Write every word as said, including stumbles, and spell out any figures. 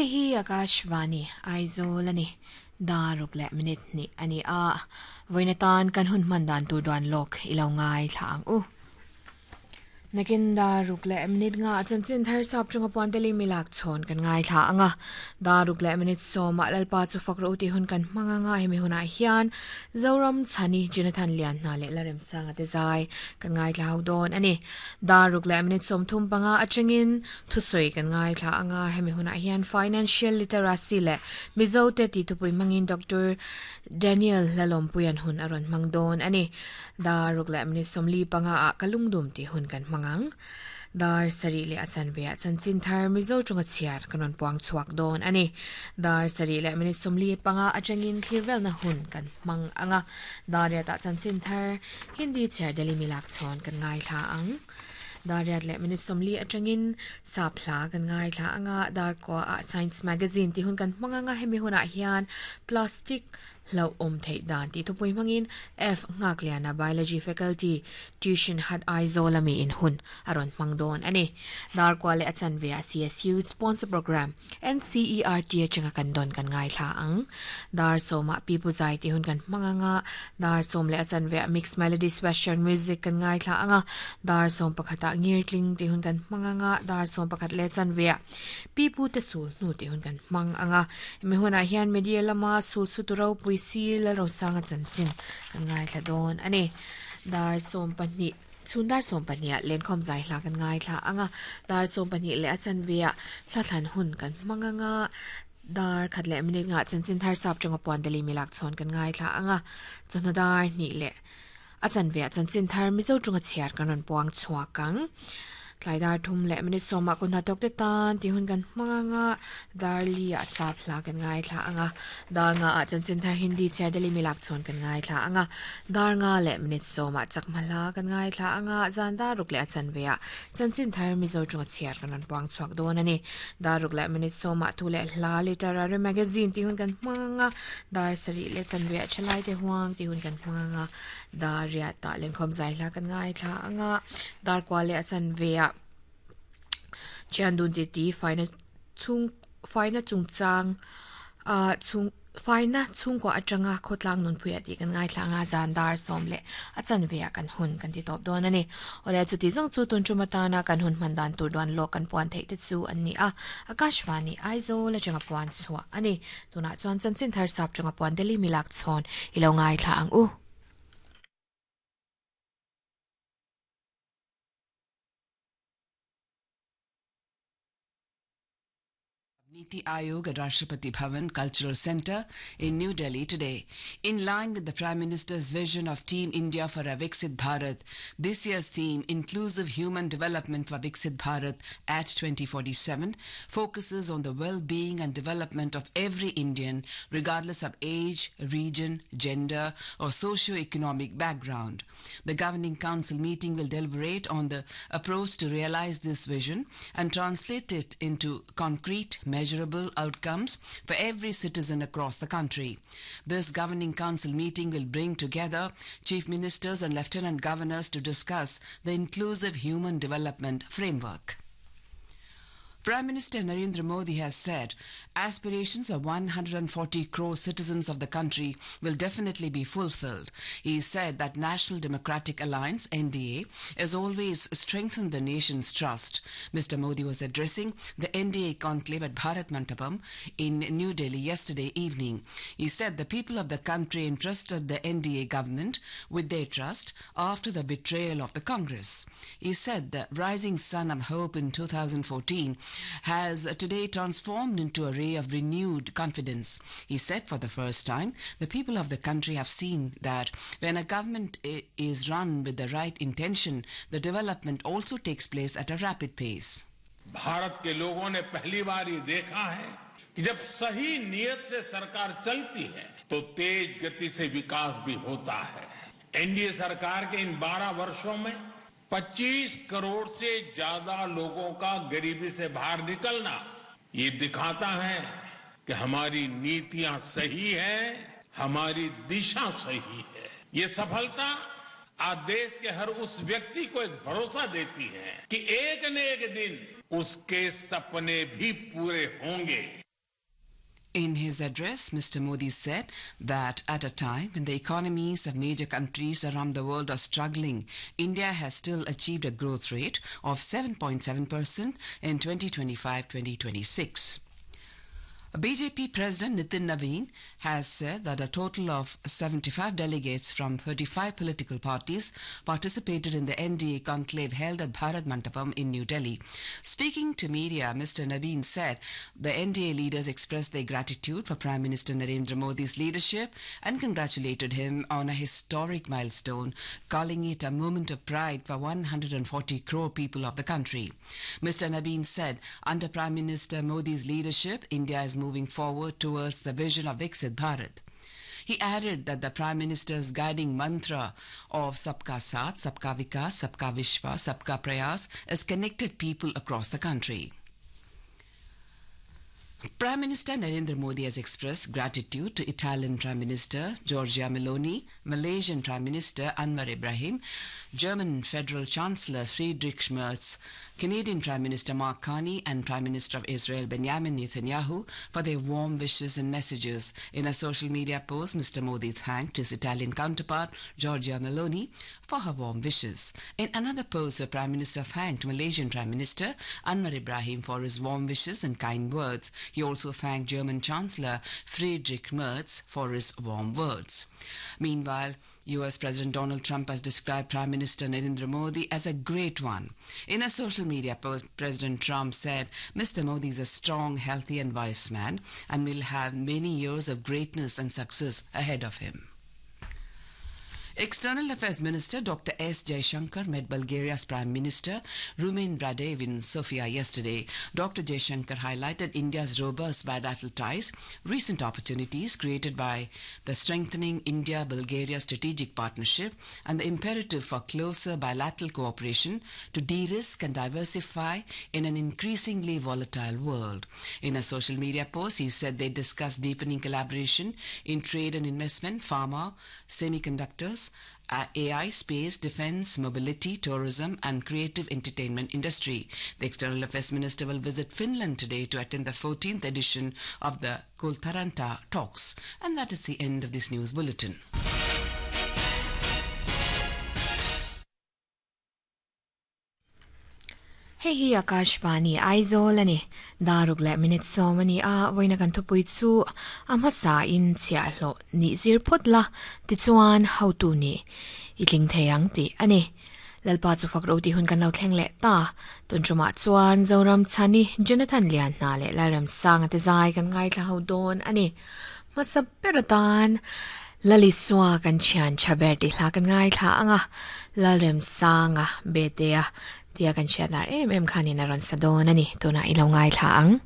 Hei hi Akashvani Aizawl ani daruk le minute ni ani a voina tan kan hun man dan tur duan lok ilo ngai thlang u nakin daruk le minute nga chanchin thar sap chunga pon teli milak chon kan ngai thla anga daruk le minute soma lalpa chu fakro ti hun kan manga nga hemi huna hian Zoram Chhani Jonathan Lian na le larem sanga te zai kan ngai thla don ani daruk le minute som thum panga achangin thusoi kan ngai thla anga hemi huna hian financial literacy le Mizo te ti thupui mangin Doctor Daniel Lalom puyan hun aron mangdon ani daruk le minute somli panga a kalungdum ti hun kan mangang dar sari le achan ve achan chin thar Mizo chunga chiar kanon puang chuak don ani dar sari le minute somli panga achangin clearvel na hun kan mang anga dar ya ta chan chin thar Hindi chiar Delhi milak chon kan ngai tha ang dar le minute somli atangin sapla kan ngai thla anga dar ko a science magazine ti hun kan manganga hemi huna hian plastic lo om thei dan ti thupui mangin F ngakliana biology faculty tuition hat Aizawl ami in hun aron mangdon ani dar ko le achan ve C S U sponsor program N C E R T changa kan don kan ngai thla ang dar soma pi puzai ti hun kan manganga dar som le achan ve mixed melodies western music kan ngai thla anga dar som pakhata ngirtling ti hun kan manganga dar som pakhat le chan ve pi pu te su nu ti hun kan mang anga mi huna hian media lama su su turo pui si la ro sanga chan chin kan ngai thla don ani dar som pahnih chundar som pahnih len khom zai hla kan ngai thla anga dar som pahnih le achan ve thla thlan hun kan manganga dar khat le minute nga chan chin thar sap chunga pon deli milak chon kan ngai thla anga chana dar ni le achan ve chan chin thar Mizo chunga chiar kanon puang chuakang tlai dar thum le minute soma kun hatok te tan ti hun kan manga dar li a sap hla kan ngai thla anga dar nga a chan chin thar Hindi chiar Delhi milak chon kan ngai thla anga dar nga le minute soma chakmala kan ngai thla anga zan dar ruk le achan ve a chan chin thar Mizo chunga chiar kanon puang chuak don ani dar ruk le minute soma thu le hla literary magazine ti hun kan manga dar sari le chan ve chalai te huang ti hun kan manga dar ya ta len khom zai hla kan ngai thla anga dar kwa le achan ve a chandun ti ti faina chung faina chung chang a chung faina chung ko atanga khotlang nun phuya ti kan ngai thlanga zan dar som le achan ve kan hun kan ti top don ani ole chu ti jong chu tun chumata na kan hun mandan tur don lo kan puan thei te chu an ni a Akashvani Aizawl la changa puan chua ani tuna chuan chanchin thar sap changa puan Delhi milak chon ilo ngai thla ang u. Niti Aayog at Rashtrapati Bhavan Cultural Centre in New Delhi today. In line with the Prime Minister's vision of Team India for a Viksit Bharat, this year's theme, Inclusive Human Development for Viksit Bharat at twenty forty-seven, focuses on the well-being and development of every Indian, regardless of age, region, gender, or socio-economic background. The Governing Council meeting will deliberate on the approach to realize this vision and translate it into concrete, measurable outcomes for every citizen across the country. This Governing Council meeting will bring together chief ministers and lieutenant governors to discuss the inclusive human development framework. Prime Minister Narendra Modi has said aspirations of one hundred forty crore citizens of the country will definitely be fulfilled. He said that National Democratic Alliance, N D A, has always strengthened the nation's trust. Mister Modi was addressing the N D A conclave at Bharat Mandapam in New Delhi yesterday evening. He said the people of the country entrusted the N D A government with their trust after the betrayal of the Congress. He said the rising sun of hope in two thousand fourteen has today transformed into a ray of renewed confidence. He said for the first time, the people of the country have seen that when a government is run with the right intention, the development also takes place at a rapid pace. Bharat के लोगों ने पहली बार ये देखा है कि जब सही नियत से सरकार चलती है तो तेज गति से विकास भी होता है। एनडीए सरकार के इन बारह वर्षों में पच्चीस करोड़ से ज्यादा लोगों का गरीबी से बाहर निकलना ये दिखाता है कि हमारी नीतियां सही है, हमारी दिशा सही है। ये सफलता आज देश के हर उस व्यक्ति को एक भरोसा देती है कि एक न एक दिन उसके सपने भी पूरे होंगे। In his address, Mr. Modi said that at a time when the economies of major countries around the world are struggling, India has still achieved a growth rate of seven point seven percent in twenty twenty-five twenty twenty-six. B J P President Nitin Naveen has said that a total of seventy-five delegates from thirty-five political parties participated in the N D A conclave held at Bharat Mandapam in New Delhi. Speaking to media, Mister Naveen said the N D A leaders expressed their gratitude for Prime Minister Narendra Modi's leadership and congratulated him on a historic milestone, calling it a moment of pride for one hundred forty crore people of the country. Mister Naveen said under Prime Minister Modi's leadership, India is moving forward towards the vision of Viksit Bharat. He added that the Prime Minister's guiding mantra of Sabka Saath, Sabka Vikas, Sabka Vishwas, Sabka Prayas has connected people across the country. Prime Minister Narendra Modi has expressed gratitude to Italian Prime Minister Giorgia Meloni, Malaysian Prime Minister Anwar Ibrahim, German Federal Chancellor Friedrich Merz, Canadian Prime Minister Mark Carney and Prime Minister of Israel Benjamin Netanyahu for their warm wishes and messages. In a social media post, Mister Modi thanked his Italian counterpart Giorgia Meloni for her warm wishes. In another post, the Prime Minister thanked Malaysian Prime Minister Anwar Ibrahim for his warm wishes and kind words. He also thanked German Chancellor Friedrich Merz for his warm words. Meanwhile, U S President Donald Trump has described Prime Minister Narendra Modi as a great one. In a social media post, President Trump said, Mister Modi is a strong, healthy and wise man and will have many years of greatness and success ahead of him. External Affairs Minister Doctor S. Jaishankar met Bulgaria's Prime Minister Rumen Radev in Sofia yesterday. Doctor Jaishankar highlighted India's robust bilateral ties, recent opportunities created by the strengthening India-Bulgaria strategic partnership and the imperative for closer bilateral cooperation to de-risk and diversify in an increasingly volatile world. In a social media post, he said they discussed deepening collaboration in trade and investment, pharma, semiconductors, A I, space, defense, mobility, tourism and creative entertainment industry. The External Affairs Minister will visit Finland today to attend the fourteenth edition of the Kultaranta Talks. And that is the end of this news bulletin. Hei hi Akashvani Aizawl ani daruk le minute so mani a voina kan thupui chu ama sa in chia hlo ni zir phot la ti chuan how to ni itling theyang ti ani lalpa chu fak ro ti hun kan lo thleng le ta tun chuma chuan Zoram Chani Jonathan Lian na le Laram Sang te zai kan ngai thla ho don ani masap peratan Laliswa kan chian chaber ti hla kan ngai thla anga Lalrem Sanga betea tia kan chian lar em em khanin a rawn sa dawn ani tuna ilo ngai thla ang.